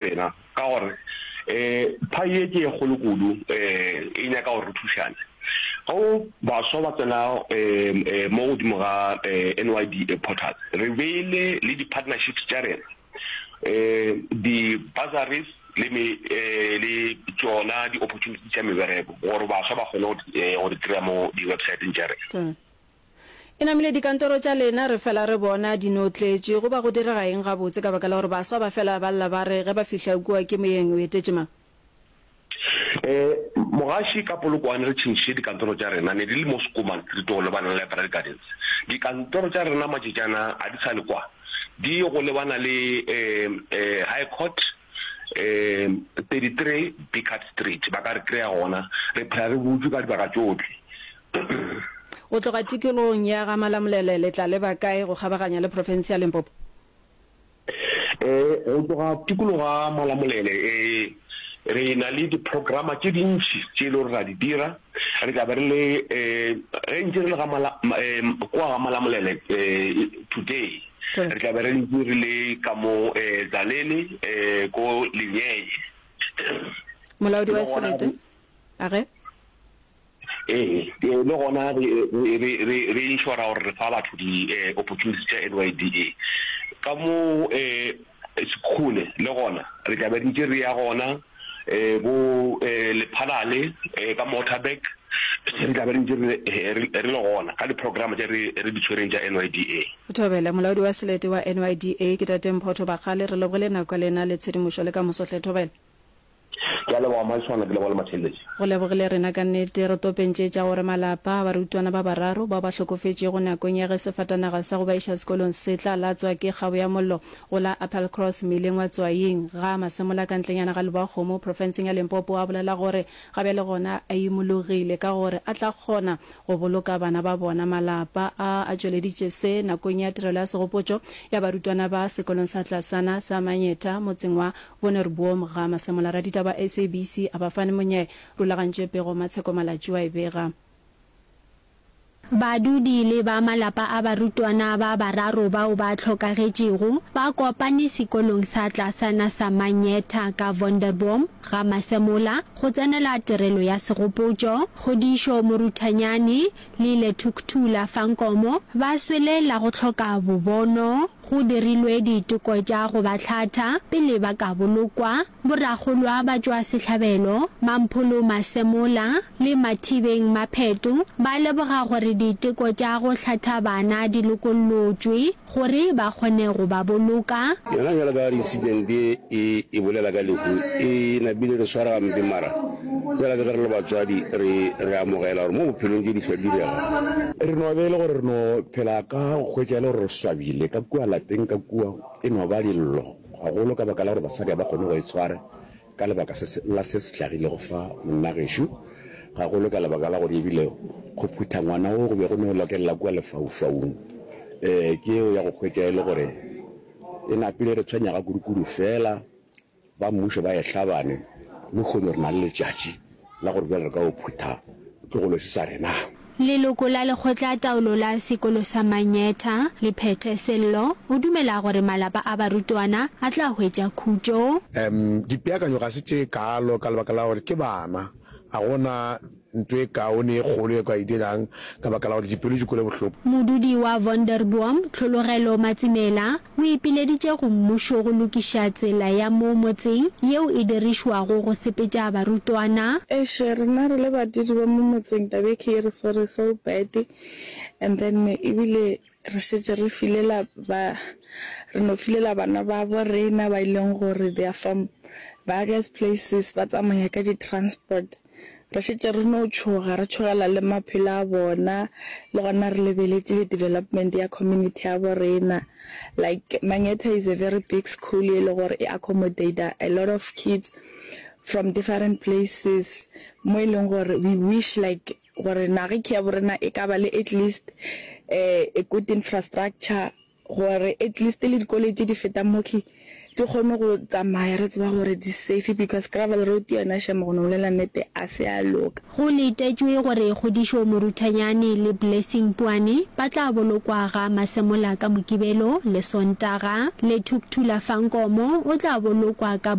Rena, ka gore um phae ye ke ye kgolo kudu, um e nyaka gore re thušane. Ge baswa ba tsena um mo godimo ga NYDA portal, re beile le di-partnerships tša rena, um di-bursaries le me le tšona di-opportunities tša mebereko gore baswa ba kgone go di kry-a mo di-websiteng tša rena. E namile dikantoro tša lena re fela re bona di no tletše. Go ba go direga eng gabotse ka baka la gore baswa ba fela ba lla ba re ge ba fihla kua ke moyeng o etetše mang? E, mogaši ka Polokwane re tšhentšhitše dikantoro tša rena, ne di le mo Schoeman Street go lebana le Library Gardens. Dikantoro tša rena matšatšana a di sa le kwa, di go lebana le e, e, High Court, e, 33 Biccard Street, ba ka re kry-a gona. Re phela re butšwe ka dibaka tšohle. Go tloga tikologong ya ga Malamulele le tla leba kae go kgabaganya le profense ya Limpopo? Ee, go tloga tikologo ga Malamulele ee, re na le diprograma tše dintši tše e le gore ra di dira. Re tla be re le ge ntše re le ga Mala kua ga Malamulele today, re tla be re ntše re le ka mo Tzaneen ko Lenyenye. Molaodi wa selete a ge. Ee, le gona re, re, re, re inšora gore re fa batho di-opportunities tša NYDA. Ka mo Sekhukhune le gona re tla be re ntše re ya gona, bo Lephalale ka Waterberg re tla be re ntše re, re le gona ka di-programme tše re, re di tshwereng tša NYDA. Thobela, Molaodi wa Selete wa NYDA ke Tate Mphotho Bakgale, re lebogile nako ya lena le tshedimošo le ka moso hle. Thobela. Ke a leboga Mmaiswana, ke leboga le Matheletše. Go lebogile rena ka nnete. Re topentše tša gore malapa a barutwana ba bararo bao ba hlokofetšego nakong ya ge sefatanaga sa go ba iša sekolong se tla latswa ke kgabo ya mollo go la Appelcross mmileng wa Tswaing ga Masemola ka ntlenyana ga Lebowakgomo profenseng ya Limpopo a bolela gore ga bjale gona a imologile ka gore a tla kgona go boloka bana ba bona. Malapa a a tšweleditše se nakong ya tirelo ya segopotšo ya barutwana ba sekolong sa tlasana sa Manyetha motseng wa Wonderboom ga Masemola Raditaba SABC a ba fane monyai rulagantše pego Matsheko Malatji wa e bega. Badudi le ba malapa a barutwana ba bararo bao ba hlokagetšego ba kopane sekolong sa tlasana sa Manyetha ka Wonderboom ga Masemola go tsenela tirelo ya segopotšo. Kgodišo Moruthanyane le Lethukthula Fankomo ba swele la go hloka bobono. Go dirilwe diteko tša go ba hlatha pele ba ka bolokwa. Borakgolwa ba tšwa sehlabelo, Mampholo Masemola le Mathibeng Mapheto ba leboga gore diteko tša go hlatha bana di lokollotšwe gore ba kgone go ba boloka. Yona bjalo ka incident ye e e bolela ka lehu e napile re swara gampe mara bjalo ka ge re le batswadi re re amogela gore mo bophelong tše di hlwa di direga. Re no be e le gore re no phela ka go hwetša e le gore re swabile ka kua lapeng ka kua e no ba dillo gagolo ka baka la gore basadi ga ba kgone go itshwara ka lebaka se la se se hlagilego fa monna gešo, gagolo ka lebaka la gore ebile go phutha ngwana wo go be go no lokelela kua lefaufaung. Ee, ke yeo ya go hwetša e le gore e napile re tshwenya ga kudukudu fela ba mmušo ba e hlabane, lehono re na le letšatši la gore bjale re ka o phutha tlogolo se sa rena. Leloko la lekgotlataolo la sekolo sa Manyetha, Lephethe Sello, o dumela gore malapa a barutwana a tla hwetša khutšo. Dipeakanyo ga se tše kaalo ka lebaka la gore ke bana. Ga go na nto e kaone e kgolo e ka e dirang ka baka la gore dipelo di kwele bohloko. Modudi wa Wonderboom, Tlhologelo Matsimela, o ipileditše go mmušo go lokiša tsela ya mo motseng yeo e dirišwago go sepetša barutwana. Eish rena re le badudi ba mo motseng taba e ke e re swere so bad and then ebile re šetše re filela ba re no filela bana babo rena ba e leng gore they are from various places ba tsamaya ka di transport. Re šetše re no tšhoga, re tšhogela le maphelo a bona, le gona re lebeletše le development ya community ya bo rena. Like Mangetha is a very big school ye le gore e accommodate a lot of kids from different places mo e leng gore we wish like gore naga ya bo rena e ka ba le at least a good infrastructure gore at least le dikoloi tše di fetang mo di. Di kgone go tsamaya re tseba gore di safe because gravel road yona shame go no bolela nnete a se ya loka. Go letetšwe gore Kgodišo Moruthanyane le Blessing Puane ba tla bolokwa ga Masemola ka Mokibelo le Sontaga. Lethukthula Fankomo o tla bolokwa ka.